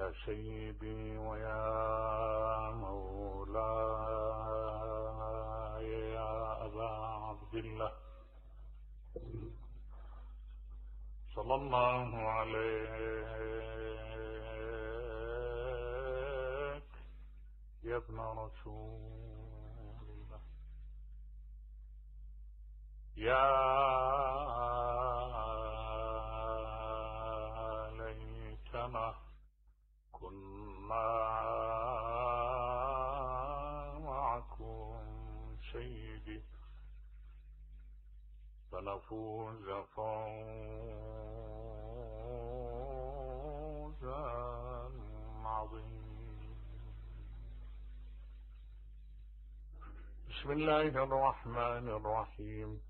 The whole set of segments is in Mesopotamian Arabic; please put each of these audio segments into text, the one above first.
يا سيدي ويا مولاي يا أبا عبد الله صلى الله عليك يا ابن رسول الله. يا ليتنا كنا معكم سيدي فنفوز فوزا عظيما. بسم الله الرحمن الرحيم.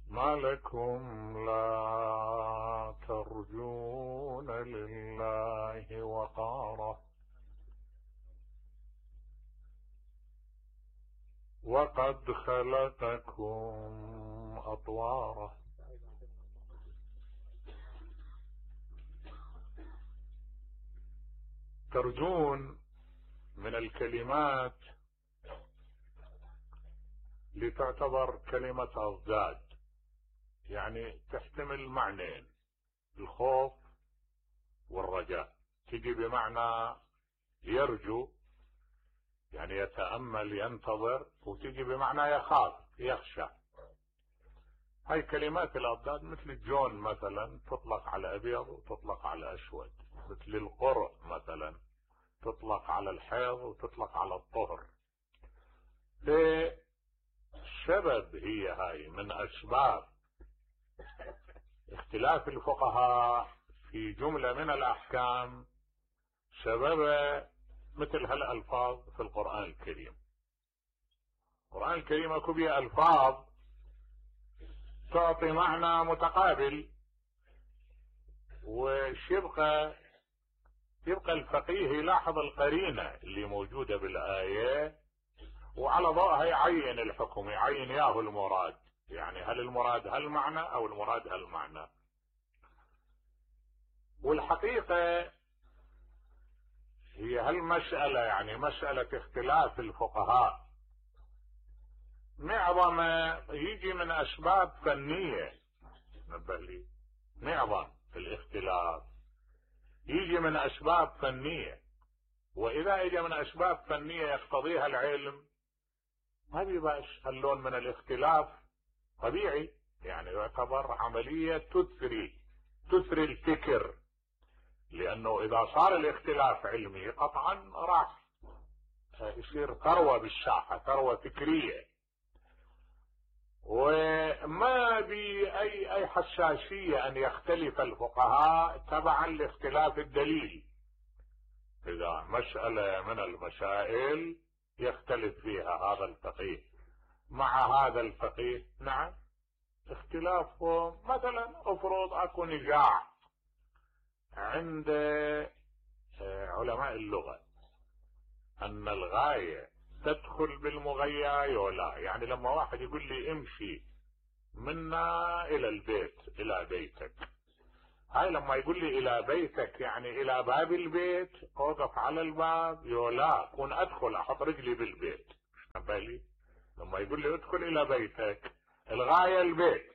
ما لكم لا ترجون لله وقارا وقد خلقكم أطوارا. ترجون من الكلمات لتعتبر كلمة أضداد، يعني تحتمل معنيين، الخوف والرجاء. تجي بمعنى يرجو يعني يتأمل ينتظر، وتجي بمعنى يخاف يخشى. هاي كلمات الأضداد مثل الجون مثلا تطلق على أبيض وتطلق على أسود، مثل القرء مثلا تطلق على الحيض وتطلق على الطهر. سبب هي هاي من أسباب اختلاف الفقهاء في جملة من الأحكام، سبب مثل هالألفاظ في القرآن الكريم. القرآن الكريم اكو بيه ألفاظ تعطي معنى متقابل، يبقى الفقيه يلاحظ القرينة اللي موجودة بالآية، وعلى ضوءها يعين الحكم، يعين ياهو المراد، يعني هل المراد هالمعنى او المراد هالمعنى. والحقيقة هي هالمسألة يعني مسألة اختلاف الفقهاء معظم يجي من اسباب فنية. نبه لي، معظم الاختلاف يجي من اسباب فنية، واذا اجى من اسباب فنية يقتضيها العلم ما بيبقى هاللون من الاختلاف طبيعي، يعني يعتبر عملية تثري الفكر، لانه اذا صار الاختلاف علمي قطعا راح يصير ثروة بالساحة، ثروة فكرية، وما اي حساسية ان يختلف الفقهاء تبعا لاختلاف الدليل. اذا مسألة من المسائل يختلف فيها هذا الفقيه مع هذا الفقيه، نعم اختلافهم. مثلا افرض اكو نزاع عند علماء اللغة ان الغاية تدخل بالمغية ولا، يعني لما واحد يقول لي امشي منا الى البيت الى بيتك، هاي لما يقول لي الى بيتك يعني الى باب البيت، اوقف على الباب يولا كون ادخل احط رجلي بالبيت. بالي لما يقول لي ادخل الى بيتك الغاية البيت،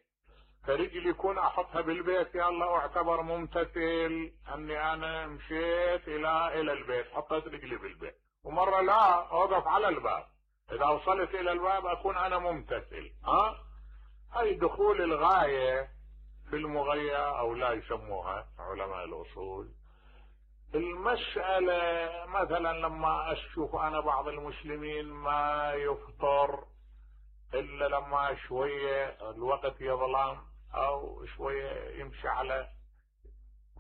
فرجلي يكون احطها بالبيت، يا الله اعتبر ممتثل اني انا مشيت الى البيت حطيت رجلي بالبيت. ومرة لا اوقف على الباب، اذا وصلت الى الباب اكون انا ممتثل. هاي دخول الغاية في المغية او لا يسموها علماء الاصول. المسألة مثلا لما اشوف انا بعض المسلمين ما يفطر الا لما شوية الوقت يظلم او شوية يمشي على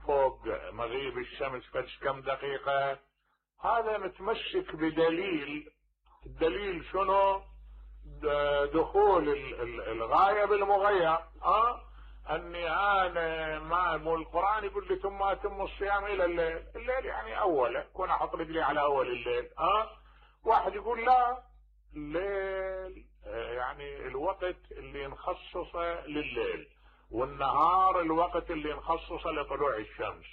فوق مغيب الشمس فش كم دقيقة، هذا متمسك بدليل. الدليل شنو؟ دخول الغاية بالمغية. اني انا ما مو القرآن يقول لي ثم اتم الصيام الى الليل يعني اوله كون احط رجلي على اول الليل. واحد يقول لا، الليل يعني الوقت اللي نخصصه لليل، والنهار الوقت اللي نخصصه لطلوع الشمس.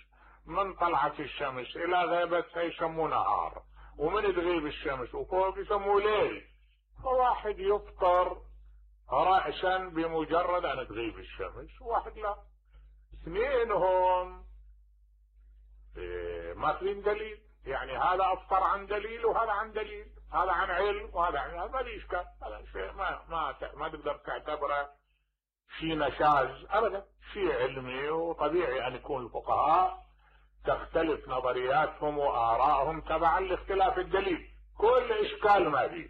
من طلعت الشمس الى غيبتها يسموه نهار، ومن تغيب الشمس وفوق يسموه ليل. فواحد يفطر رأسا بمجرد ان تغيب الشمس، وواحد لا. اثنينهم ماخذين دليل، يعني هذا افطر عن دليل وهذا عن دليل، هذا عن علم وهذا عن علم، ما لي اشكال. هذا شيء ما تقدر تعتبره شيء نشاز ابدا، شيء علمي وطبيعي ان يكون الفقهاء تختلف نظرياتهم وارائهم تبعا لاختلاف الدليل، كل اشكال ما فيه.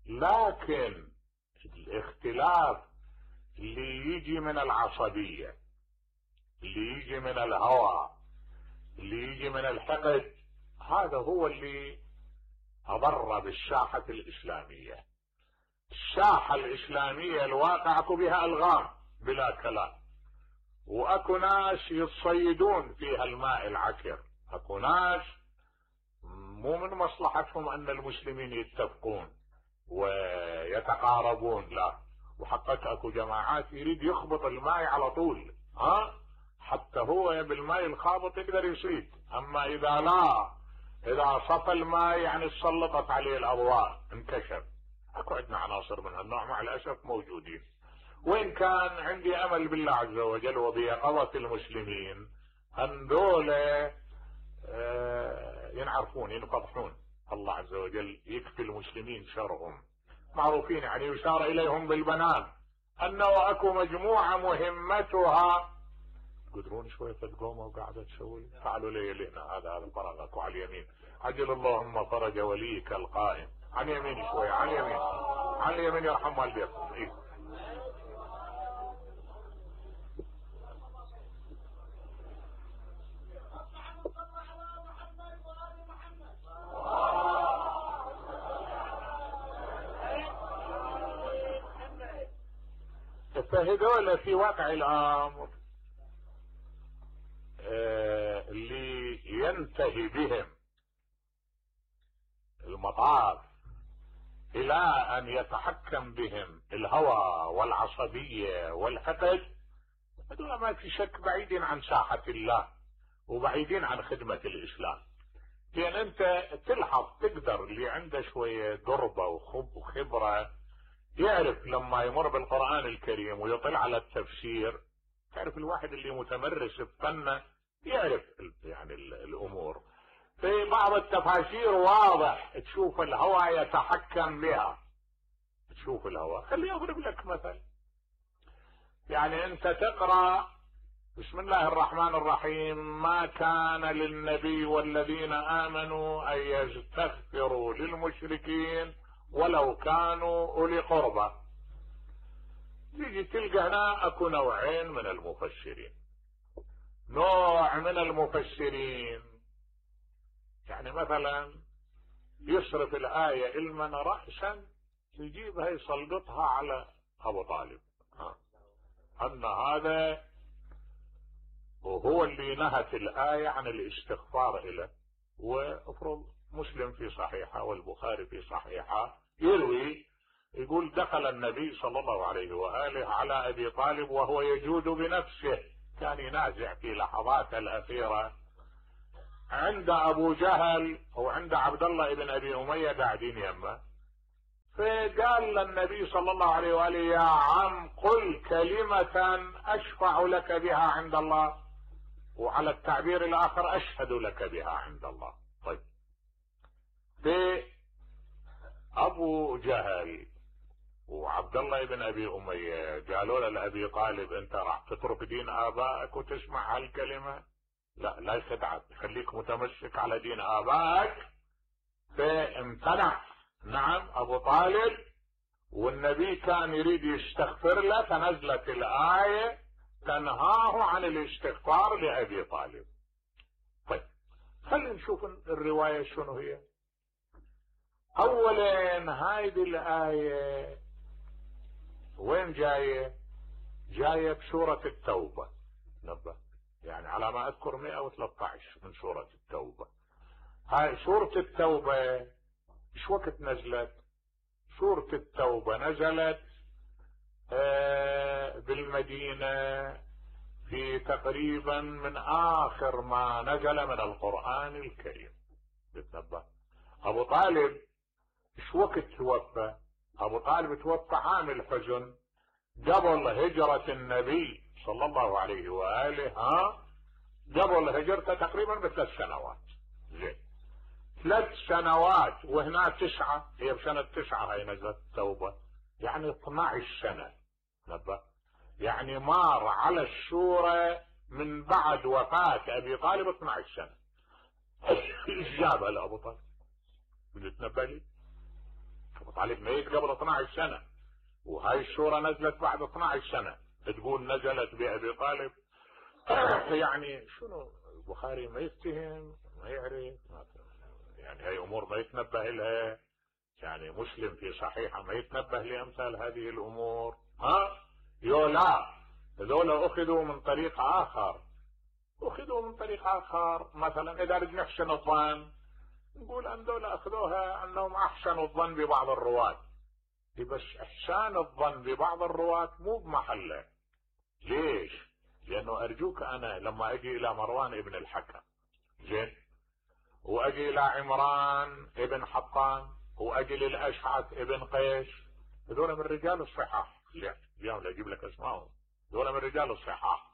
لكن الاختلاف اللي يجي من العصبية، اللي يجي من الهوى، اللي يجي من الحقد، هذا هو اللي أضر بالساحة الإسلامية. الساحة الإسلامية الواقع اكو بها ألغام بلا كلام، واكو ناس يتصيدون فيها الماء العكر، اكو ناس مو من مصلحتهم ان المسلمين يتفقون ويتقاربون، لا، وحقك اكو جماعات يريد يخبط الماء على طول، حتى هو بالماء الخابط يقدر يصيد. اما اذا صفى الماء يعني سلطت عليه الاضواء انكشف. اكو عندنا عناصر من هالنوع مع الاسف موجودين، وإن كان عندي أمل بالله عز وجل وبيقظة المسلمين أن دولة ينعرفون ينفضحون، الله عز وجل يكفي المسلمين شرهم، معروفين يعني يشار إليهم بالبنان، أنه أكو مجموعة مهمتها قدرون شوية تقوموا وقاعدة تسوي فعلوا لي لنا هذا فرغك على اليمين، عجل اللهم فرج وليك القائم، عن يمين شوية، عن يمين، عن اليمين يرحم والديكم. إيه؟ فهذول في واقع الامر اللي ينتهي بهم المطاف الى ان يتحكم بهم الهوى والعصبية والحقد، هذول ما في شك بعيدين عن ساحة الله وبعيدين عن خدمة الاسلام. لان انت تلحظ تقدر اللي عنده شوية دربة وخبرة يعرف لما يمر بالقرآن الكريم ويطلع على التفسير، تعرف الواحد اللي متمرس بفنه يعرف يعني الامور. في بعض التفاسير واضح تشوف الهوى يتحكم بها، تشوف الهوى. خليني اضرب لك مثل، يعني انت تقرأ بسم الله الرحمن الرحيم: ما كان للنبي والذين آمنوا أن يستغفروا للمشركين ولو كانوا أولي قربى. تيجي تلقى هنا اكو نوعين من المفسرين. نوع من المفسرين يعني مثلا يصرف الآية المن رأسا يجيبها يسلطها على أبو طالب، أن هذا وهو اللي نهت الآية عن الاستغفار إليه. وافرض مسلم في صحيحة والبخاري في صحيحة يروي يقول: دخل النبي صلى الله عليه وآله على أبي طالب وهو يجود بنفسه، كان ينازع في لحظات الأخيرة عند أبو جهل وعند عبد الله بن أبي أمية قاعدين يمه، فقال للنبي صلى الله عليه وآله: يا عم قل كلمة أشفع لك بها عند الله، وعلى التعبير الآخر أشهد لك بها عند الله. طيب، في أبو جهل وعبد الله بن أبي أمية قالوا لأبي طالب: أنت راح تترك دين آبائك وتسمع هالكلمة؟ لا يخدعك، خليك متمسك على دين آبائك. فامتنع نعم أبو طالب، والنبي كان يريد يستغفر له، فنزلت الآية تنهاه عن الاستغفار لأبي طالب. طيب، خلينا نشوف الرواية شنو هي. اولا هذه الآية وين جاية؟ جاية بسورة التوبة، نبه يعني على ما اذكر 113 من سورة التوبة. هاي سورة التوبة ايش وقت نزلت؟ سورة التوبة نزلت بالمدينة في تقريبا من آخر ما نزل من القرآن الكريم. بتنبه أبو طالب ايش وقت توفى؟ أبو طالب توفى عام الحزن قبل هجرة النبي صلى الله عليه وآله، قبل هجرته تقريبا ب3 سنوات. زين 3 سنوات وهنا 9، هي بسنة 9 هي نزلت التوبة، يعني 12 سنة. نبه يعني مار على السورة من بعد وفاة أبي طالب 12 سنة. ايش جابها لأبو طالب؟ بتنبه لي أبو طالب ميت قبل 12 سنة، وهاي السورة نزلت بعد 12 سنة، تقول نزلت بأبي طالب. يعني شنو البخاري ما يفتهم ما يعرف، يعني هاي أمور ما يتنبه لها. يعني مسلم في صحيحة ما يتنبه لأمثال هذه الأمور. لا، هذول أخذوا من طريق آخر، مثلا إذا بدنا نحسن الظن نقول أن دول أخذوها أنهم أحسنوا الظن ببعض الرواة، بس إحسان الظن ببعض الرواة مو بمحله. ليش؟ لأنه أرجوك أنا لما أجي إلى مروان ابن الحكم، زين، وأجي إلى عمران ابن حطان، وأجي للأشعث ابن قيس، هذول من رجال الصحاح. اليوم لا أجيب لك اسمائهم، هذول من رجال الصحاح.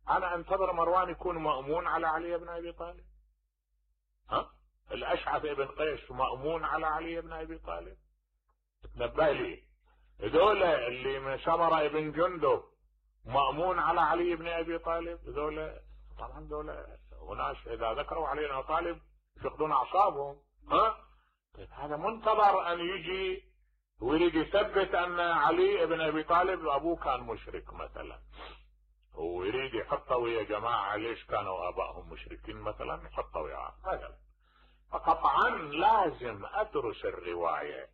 أنا أنتظر مروان يكون مأمون على علي بن أبي طالب؟ الأشعث ابن قيس مأمون على علي بن أبي طالب؟ تنبه لي هذول اللي من سمرة ابن جندب مأمون على علي بن أبي طالب؟ هذول طبعا هذول وناس إذا ذكروا علي بن أبي طالب يفقدون أعصابهم. طيب هذا منتظر أن يجي ويريد يثبت أن علي بن أبي طالب أبوه كان مشرك مثلا، ويريد يحطه ويا جماعة ليش كانوا آبائهم مشركين مثلا، يحطه وياه مثلا. فقطعا لازم أدرس الرواية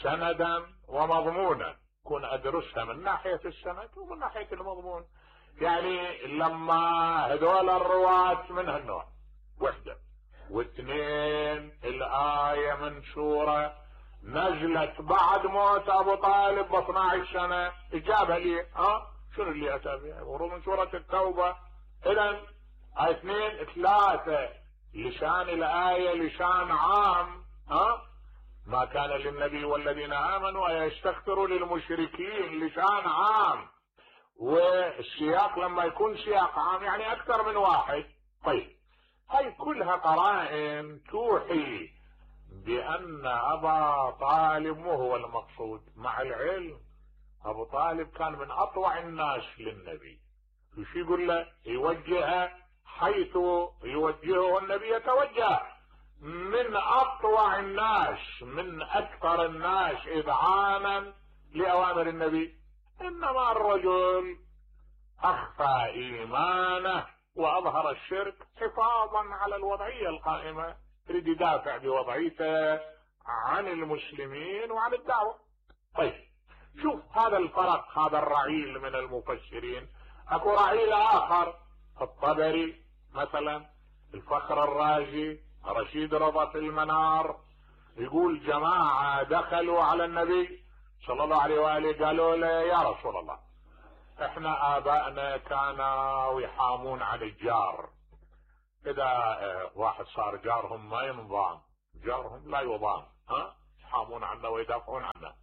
سندا ومضمونا، كون أدرسها من ناحية السند ومن ناحية المضمون. يعني لما هذول الرواة من هالنوع، 1 و2 الآية من سورة نزلت بعد موت أبو طالب ب12 سنة، إجابة لي شنو اللي أتى بها؟ ورود من سورة التوبة. إذن 2 3 لسان الآية لسان عام. ما كان للنبي والذين آمنوا أن يستغفروا للمشركين، لسان عام. والسياق لما يكون سياق عام يعني أكثر من واحد. طيب هاي كلها قرائن توحي بأن أبا طالب مو هو المقصود. مع العلم أبو طالب كان من أطوع الناس للنبي، وش يقول له؟ يوجهه حيث يوجهه النبي يتوجه. من أطوع الناس، من أكثر الناس إذعانا لأوامر النبي. إنما الرجل أخفى إيمانه وأظهر الشرك حفاظا على الوضعية القائمة، يريد يدافع بوضعيته عن المسلمين وعن الدعوة. طيب شوف هذا الفرق، هذا الرعيل من المفسرين. اكو رعيل آخر، الطبري مثلا، الفخر الرازي، رشيد رضا في المنار، يقول جماعة دخلوا على النبي صلى الله عليه وآله قالوا له يا رسول الله احنا آبائنا كانوا يحامون عن الجار، إذا واحد صار جارهم ما ينضام، جارهم لا يضام، يحامون عنه ويدافعون عنه.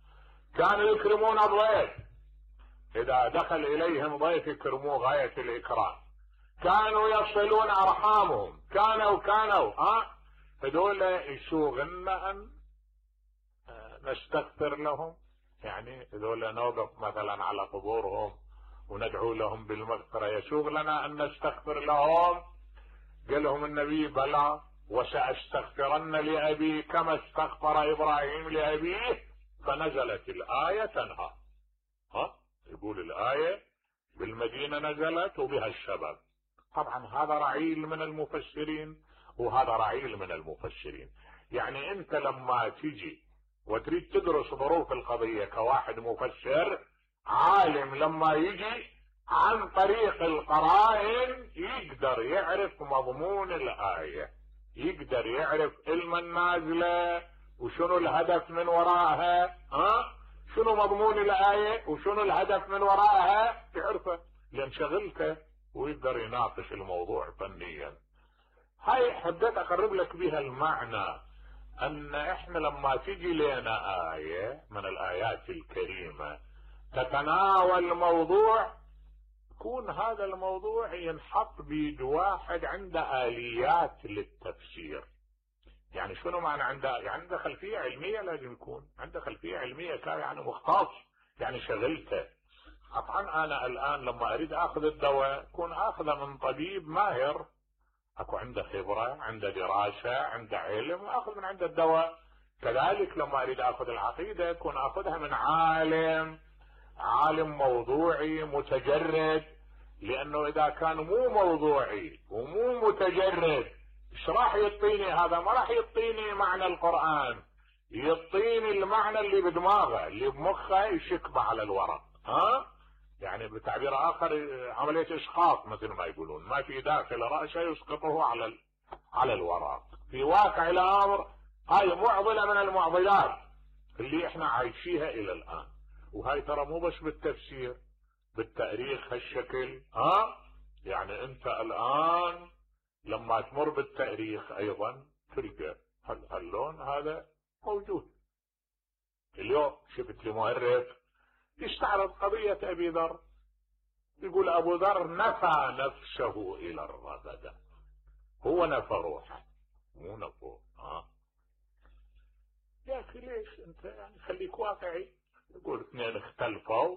كانوا يكرمون الضيف، إذا دخل إليهم ضيف يكرموه غاية الإكرام. كانوا يصلون أرحامهم، كانوا هذول يسوغنا أن نستغفر لهم، يعني هذول نوقف مثلا على قبورهم وندعو لهم بالمغفرة، يسوغ لنا أن نستغفر لهم. قال لهم النبي بلى وسأستغفرن لأبي كما استغفر إبراهيم لأبيه، فنزلت الآية تنهى. يقول الآية بالمدينة نزلت وبها السبب. طبعا هذا رعيل من المفسرين وهذا رعيل من المفسرين. يعني انت لما تيجي وتريد تدرس ظروف القضية كواحد مفسر عالم، لما يجي عن طريق القرائن يقدر يعرف مضمون الآية، يقدر يعرف علم النازلة وشنو الهدف من وراءها، شنو مضمون الآية وشنو الهدف من وراءها، تعرفه لأن شغلته ويقدر يناقش الموضوع فنيا. هاي حبيت اقرب لك بها المعنى ان احنا لما تجي لنا آية من الآيات الكريمة تتناول موضوع، يكون هذا الموضوع ينحط بيد واحد عنده آليات للتفسير. يعني شنو معنى عنده خلفية علمية، لازم يكون عنده خلفية علمية يعني مختص، يعني شغلته. طبعا انا الان لما اريد اخذ الدواء اكون اخذه من طبيب ماهر، اكو عنده خبرة، عنده دراسة، عنده علم، واخذ من عنده الدواء. كذلك لما اريد اخذ العقيدة اكون اخذها من عالم موضوعي متجرد، لانه اذا كان مو موضوعي ومو متجرد ايش راح يعطيني؟ هذا ما راح يعطيني معنى القرآن، يعطيني المعنى اللي بدماغه اللي بمخه يشكبه على الورق. يعني بتعبير اخر عملية اسقاط مثل ما يقولون، ما في داخل رأسه يسقطه على الورق. في واقع الامر هاي معضلة من المعضلات اللي احنا عايشيها الى الان. وهاي ترى مو بس بالتفسير، بالتاريخ هالشكل. يعني انت الان لما تمر بالتاريخ ايضا تلقى هاللون هذا موجود. اليوم شفت لي مؤرخ يستعرض قضية ابي ذر، يقول ابو ذر نفى نفسه الى الرغدة، هو نفى روحه مو نفوه. يا اخي ليش انت يعني خليك واقعي. يقول اثنين اختلفوا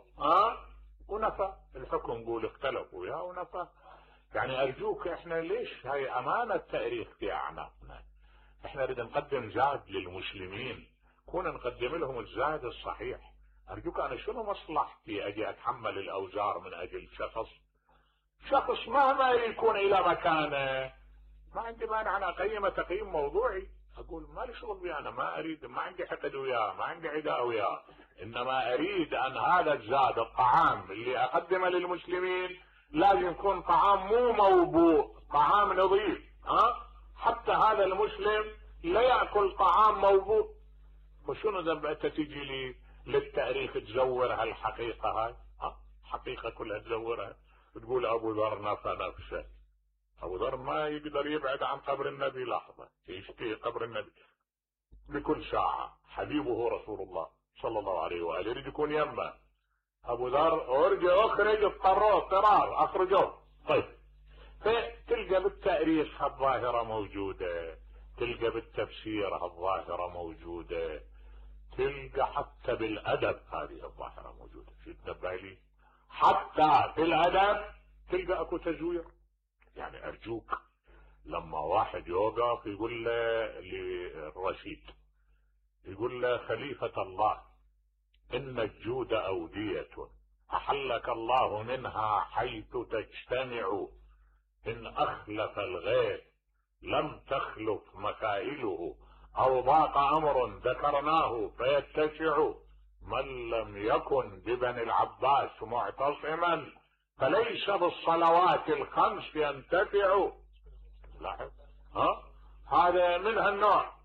ونفى الحكم، يقول اختلفوا يا ونفى. يعني ارجوك احنا ليش هاي امانة تاريخ في اعناقنا. احنا نريد نقدم زاد للمسلمين، كون نقدم لهم الزاد الصحيح. ارجوك انا شنو مصلحتي اجي اتحمل الاوزار من اجل شخص مهما يكون الى مكانه؟ ما عندي مانع انا اقيمه تقييم موضوعي، اقول ما لي شغل بيه، انا ما اريد، ما عندي حقد وياه، ما عندي عداء وياه، انما اريد ان هذا الزاد الطعام اللي اقدمه للمسلمين لازم يكون طعام مو موبوء، طعام نظيف. حتى هذا المسلم لا يأكل طعام موبوء. وشنو ذنب انت تجي لي للتاريخ تزور هالحقيقة هاي؟ حقيقة كلها تزورها، تقول ابو ذر نفى نفسه. ابو ذر ما يقدر يبعد عن قبر النبي لحظة، يشتهي قبر النبي بكل ساعة، حبيبه رسول الله صلى الله عليه وآله يريد يكون يمه. ابو ذر اخرج اضطرار اخرجوه. طيب فتلقى بالتاريخ هالظاهرة موجودة، تلقى بالتفسير هالظاهرة موجودة، تلقى حتى بالادب هذه الظاهرة موجودة. شو تنبه لي؟ حتى في الادب تلقى اكو تزوير. يعني ارجوك لما واحد يوقف يقول له للرشيد، يقول له خليفة الله ان الجود اودية احلك الله منها حيث تجتمع، ان اخلف الغيث لم تخلف مكائله، او ضاق امر ذكرناه فيتسع، من لم يكن ببني العباس معتصما فليس بالصلوات الخمس ينتفع. لاحظ هذا من هالنوع.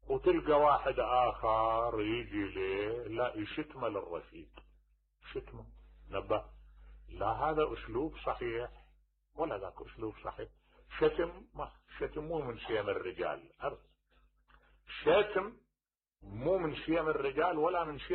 وتلقى واحد اخر يجي ليه لا يشتمه للرشيد، شتمه نبه، لا هذا اسلوب صحيح ولا ذاك اسلوب صحيح. شتم مو من شيم الرجال، شتم مو من شيم الرجال ولا من شيم